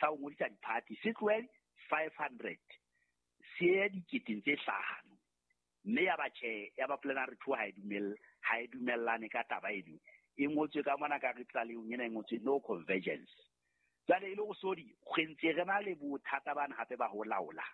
sa ho ngodisa diphathi se tlohe 500 se ye diketeng tse hlano. Mme ya ba tjhe, ya ba plenary 2 ha e dumelle, ha e dumellane ka taba eno. E ngotswe ka mona ka re tlalehong ena e ngotswe no convergence. Jwale e le hore sodi re ntse re na le bothata bana hape ba ho laola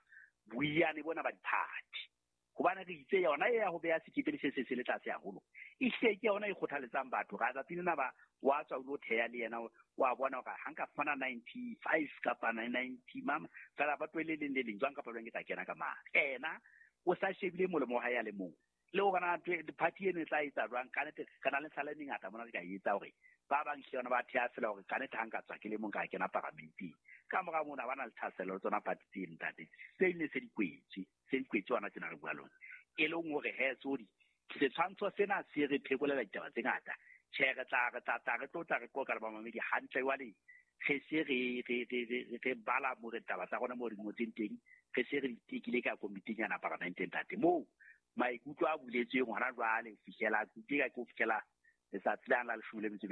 boiyane bona ba diphathi. Hobane re itse yona e ya ho beha sekepele se se se le tlase haholo, ehlile ke yona e kgothaletsang batho hore a tsatsi lena ba wa tswa o lo theha le yena, wa bona hore ha nka fumana 95 kapa 90 mama fela ba tlohele leng le leng jwang kapa jwang ke tla kena ka mane. Ena o sa shebile molemo wa hae a le mong. Le hore na party eno e tla etsa jwang, ka nnete re na le mehlala e mengata mona re ka e etsa hore ba bang hle yona ba theha fela hore ka nnete ha nka tswa ke le mong ka kena paramenteng. Ka mora mona ba na le thahasello le tsona party tseno ntate. Tse ding ne se di kwetswe, se di kwetswe hona tjena re bua lona. E leng hore he tsodi setshwantsho sena se re phekolela ditaba tse ngata. Tjhe, re tla re tla tla re tlo tla re qoqa le bamamedi hantle jwale re se re re re re re bala mo re taba tsa rona mo re ngotseng teng, re se re di tekile ka komiting yana paramenteng ntate. Moo maikutlo a buletsweng hona jwale ho fihlela ke ka ke ho fihlela letsatsi la la 15.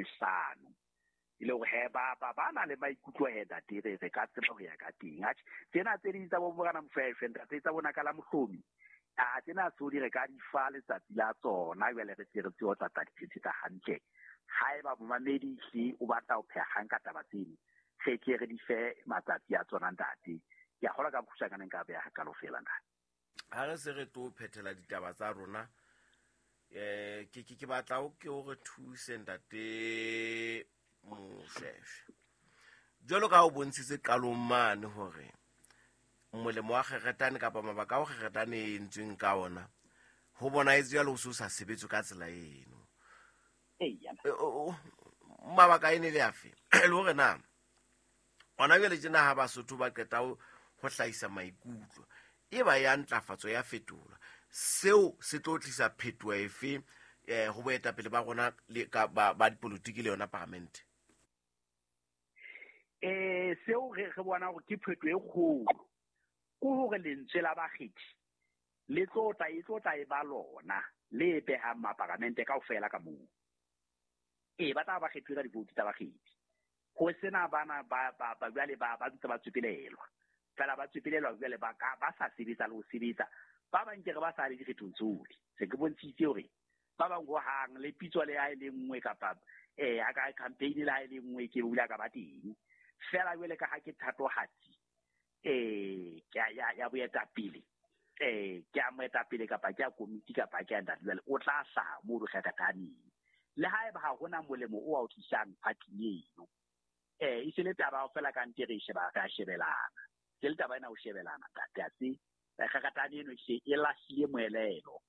E le hore he ba ba ba na le maikutlo he ntate, re re ka tseba ho ya ka teng. Atjhe, tsena tse ding tsa bo Morena Mofefe ntate, tsa bona ka la Mohlomi, a tsena tsodi re ka di fa letsatsi la tsona jwale re tle re tsebe ho tla tla di phethetsa hantle. Haeba momamedi hle o batla ho pheha kgang ka taba tseno, re tle re di fe matsatsi a tsona ntate. Ke a kgolwa ka bokgutshwanyane nka beha hakalo feela ntate. Ha re se re tlo phethela ditaba tsa rona, ke ke ke batla o ke o re thuse ntate Moshweshwe. Jwalo ka ha o bontshitse qalong mane hore molemo wa kgeretane kapa mabaka ao kgeretane e entsweng ka ona ho bonahetse jwale o se o sa sebetswe ka tsela eno. Mabaka e ne le afe? Le hore na hona jwale tjena ha Basotho ba qeta ho hlahisa maikutlo e ba ya ntlafatso ya fetolwa, seo se tlo tlisa phetoho efe ho boetapele ba rona le ka ba dipolotiki le yona paramente? Seo re bona hore ke phetoho e kgolo ke hore lentswe la bakgethi le tlo tla e tlo tla e ba lona le behang maparamente kaofela ka moo. Ba tla ba kgethuwe ka divoutu tsa bakgethi. Ho sena bana ba ba ba jwale ba ba ntse ba tswepelelwa. Fela ba tswepelelwa jwale ba ka ba sa sebetsa le ho sebetsa. Ba bang ke re ba sa le dikgethong tsohle. Se ke bontshitse hore ba bang ho hang le pitso le ha e le nngwe kapa a ka campaign le ha e le nngwe ke bula ka ba teng. Fela jwale ka ha ke thatohatsi ke ya ya boetapele ke a moetapele kapa ke a komiti kapa ke a ntate jwale o tla hlaha moo re kgakathaneng. Le haeba ha hona molemo o a o tlisang phathing eno. E se le taba fela ka nte re sheba ka shebelana. Se le taba ena ho shebelana ntate a se kgakatane eno e e lahlile moelelo.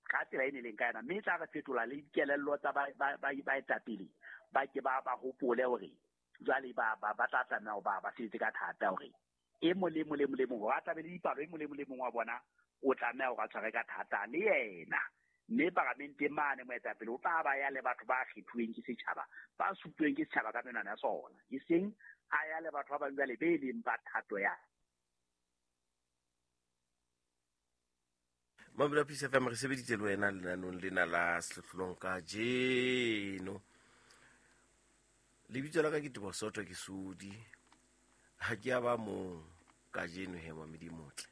Ka tsela e ne leng ka yona, mme e tla re fetola le dikelello tsa baetapele ba ke ba ba hopole hore jwale ba ba ba tla tlameha ho ba ba sebetse ka thata hore e mong le mong le mong le mong hore a tlabe le dipalo, e mong le mong le mong wa bona o tlameha hore a tshware ka thata le yena. Mme paramenteng mane moetapele o tla ba ya le batho ba kgethuweng ke setjhaba, ba supuweng ke setjhaba ka menwana ya sona, e seng a ya le batho ba bang jwale be leng ba thato ya. Mabula Peace FM re sebeditse le wena lenanong lena la sehlohlolong kajeno. Lebitso la ka ke Teboho Soto, ke Sodi. Ha ke a ba mong kajeno he mamedi motle.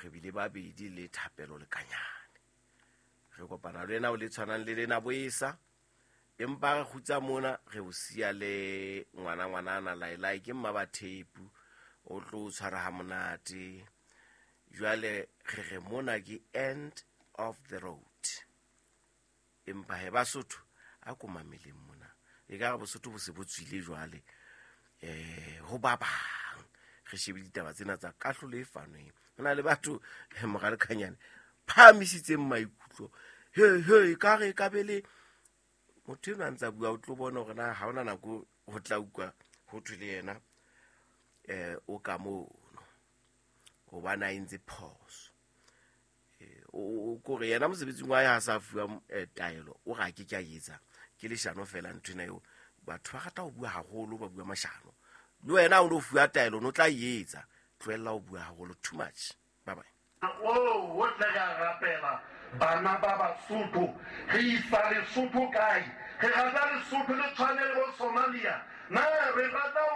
Re bile babedi le Thapelo Lekanyane. Re kopana le wena o le tshwanang le lena boesa. Empa re kgutsa mona re o siya le ngwana ngwanana Lailai ke mma ba thepu o tlo o tshwara ha monate. Jwale re re mona ke end of the road. Empa he Basotho a ko mameleng mona. E ka re Bosotho bo se bo tswile jwale ho ba bang. Re shebe ditaba tsena tsa kahlolo e fanweng. Ho na le batho mora Lekanyane phahamisitseng maikutlo. He he ka re ka be le motho enwa a ntsa bua o tlo bona hore na ha hona nako ho tla utlwa ho thwe le yena o ka mono hobane a entse phoso. O kore yena mosebetsing wa hae ha sa fuwa taelo o re a ke ke a etsa ke leshano fela nthwena eo. Batho ba rata ho bua haholo, ba bua mashano. Le wena o no fuwa taelo no tla e etsa. Tlohella ho bua haholo too much. Bye bye. O tla ya rapela bana ba Basotho. Re isa Lesotho kae? Re rata Lesotho le tshwane le bo Somalia. Na re rata